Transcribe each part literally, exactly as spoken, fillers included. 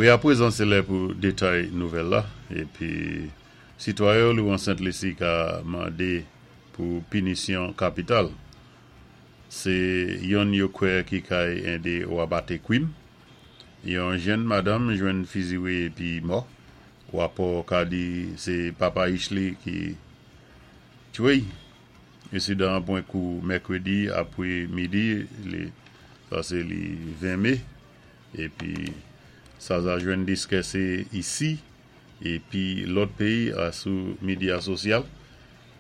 Wi, apwézan sé lè pou détay nouvèl la. Épi, sitwayen lou an Sent Lisi ka mandé pou pinisyon kapital. Sé youn yo kwè ki kay édé wabaté kwim. Yon jenn madanm jwenn fiziwé épi mò. Wapò ka di sé papa ich li ki twé'y. Ensidan pwan kou mèkwédi apwé midi, li, sa sé li ven mé. Épi sa za jwenn diskisé isi épi lòt péyi asou midya sosyal.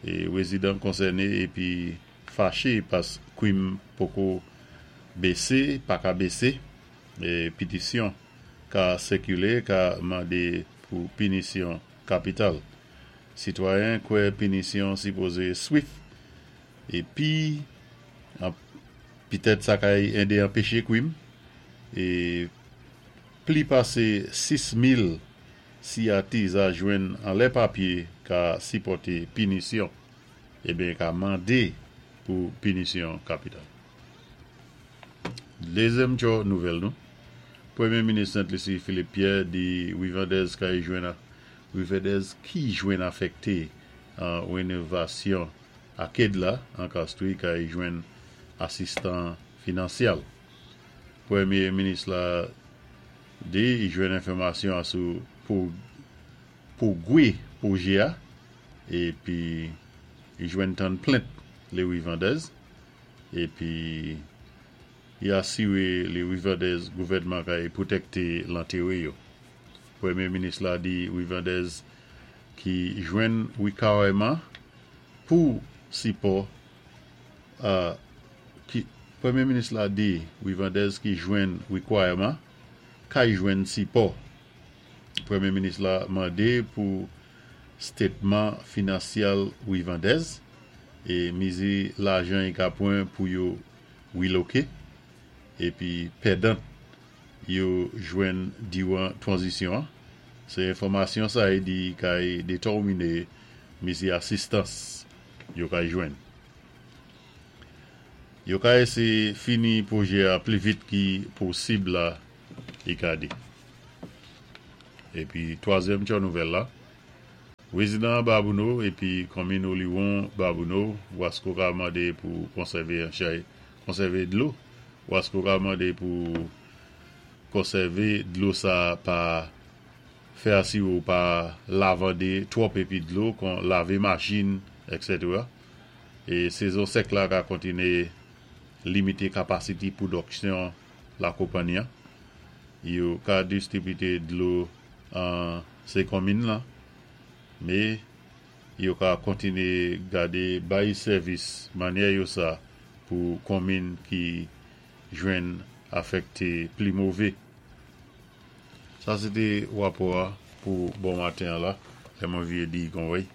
É wézidan konsèné épi faché paski kwim poko bésé, pa ka bésé. É pitisyon ka sikilé ka mandé pou pinisyon kapital. Sitwayen kwè pinisyon sipozé swift épi pitèt sa kay édé anpéché kwim. É pli pasé sis mil siyati za jwenn anlè papyé ka sipòté pinisyon, ébyen ka mandé pou pinisyon kapital. Dézyèm tjo nouvèl nou. Pwémyé minis Sent Lisi Philippe Pierre di Wivandèz kay jwenn Wivandèz ki jwenn afèkté an wénovasyon aked la an Castries kay jwenn asistans finansyal. Pwémyé minis la di i jwenn enfòmasyon asou pou pou gwi pwojé a épi i jwenn tann plent lé Wivandèz épi i asiwé lé Wivandèz gouvèdman kay pwotèkté lentéwé yo. Pwémyé minis la di Wivandèz ki jwenn wikawèman pou sipò euh, ki Pwémyé minis la di Wivandèz ki jwenn wikwayaman kay jwenn sipò. Pwémyé minis la mandé pou stétman finansyal Wivandèz é mizi lajan i ka pwan pou yo wiloké épi pèdant yo jwenn diwan twanzisyon. Sé enfòmasyon sa i di kay détèminé mizi asistans yo kay jwenn. Yo ka éséyé fini pwojé a pli vit ki posib la i ka di. Épi twazyèm tjo nouvèl la. Wézidan Babonneau épi konmin Oliwon Babonneau, Wasko ka mandé pou konsèvé an chay, konsèvé dlo. Wasko ka mandé pou konsèvé dlo sa pa fè asi ou pa lavandé twòp épi dlo kon lavé machin, et cetera. É sézon sèk la ka kontiné limité kapasité pwodiksyon la konpanyi. Yo ka distribité dlo an sé konmin la, mé yo ka kontiné gadé bay sèvis mannyè yo sa pou konmin ki jwenn afèkté pli mové. Sa sé té wapò pou bon maten la, lè mwen vyé di kon wèy.